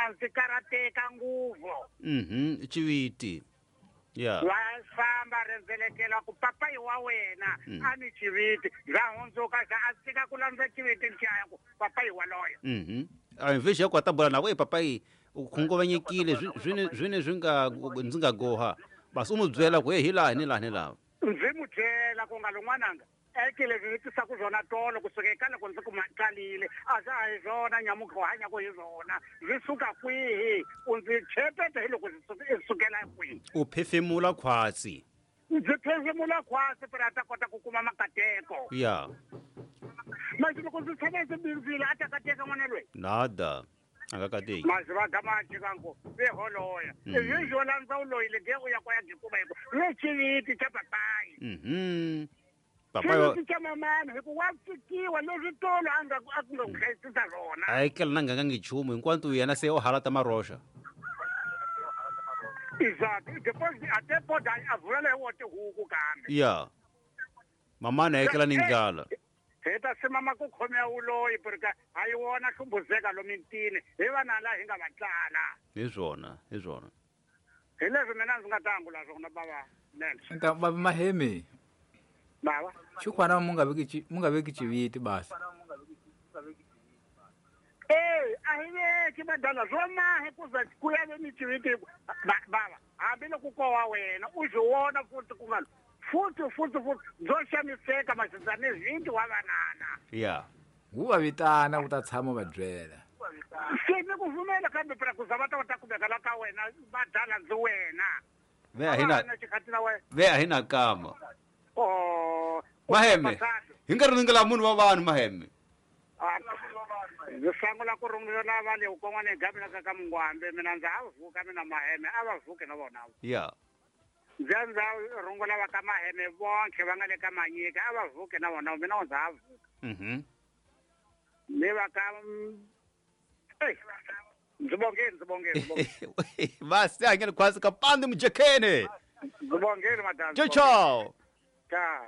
mina ndzi karateka nguvu. Xiviti. Ya. Wa famba rendzelekela ku papayi wa wena a ni xiviti bya hundzuka xa a tshika ku landza xiviti lexiya ku papayi waloyo. A mvexi ya ku a ta bula na ku e papayi u khunguvanyekile swi ne swi nga ndzi nga goha basi u n'wi byela ku he hi laha ni laha ni laha. Ndzi n'wi byela ku nga lon'wananga eke leswi ndzi tisaka swona tolo kusuka eka loko ndzi ku tsalile a swa ha hi swona nyamuka u hanyaka hi swona swi suka kwihi u ndzi chepeta hi loko swi sukela kwihi. U phefemula khwatsi. Ndzi phefemula khwatsi phela a ta kota ku kuma makateko. Ya. Manje loko ndzi tshama ndzi bindzile a ta kateka n'wana loyi. Nada. A nga kateki. Manje va gama jikango ve holoya. Izvi zwo landza u loyile ge u ya kwa ya gikuba hiko. Ve xiviti xa papayi. Papayi xiviti xa mamana hikuva wa tsikiwa leswi tolo a nga a ku nga ku hlayisisa swona. A yi kela na nganga nchumu hinkwanto yena se o halata maroxa. Exactly. Depois até pode a vula leyi wo tihuku kambe. Ya. Mamana a ekela ni ndlala. Hi ta simama ku khomea wuloyi porque a yi wona hlumbuzeka lomitini hi vana la hi nga va tlala. Hi swona, hi swona. Hi leswi mina ndzi nga ta angula swona bava Nelson. Nta baba Mahemi. Baba. Xikwana mu nga veki mu nga veki xiviti basi. Eh, a hi veki badala swo mahe ku za ku ya ve ni xiviti baba hambiloko ko wa wena u swi vona futhi ku nga futhi futhi futhi byo xaniseka masizane vinti wa vanana. Ya. Wu va vitana ku ta tshama va byela. Se ni ku pfumela kambe phela ku za va ta va ta kumeka la ka wena va dala ndzi wena. Ve a hi na xikhathi na wena. Ve a hi na kama. Oh. Maheme. Hi nkarhi ringela munhu wa vanhu Maheme. Ndzi sangula ku rungula va le kon'wana hi gavela ka ka Mungwambe mina ndza ha vuka mina Maheme a va vuki na vona. Ya. Ndzi ndza rungula va ka Maheme bonke va nga le ka Manyika a va vuki na vona mina ndza ha vuka. Ni va ka ndzi bongeni ndzi bongeni. Basi angene khwasi ka pandi mujekene. Ndzi bongeni madam. Ciao ciao. Ciao.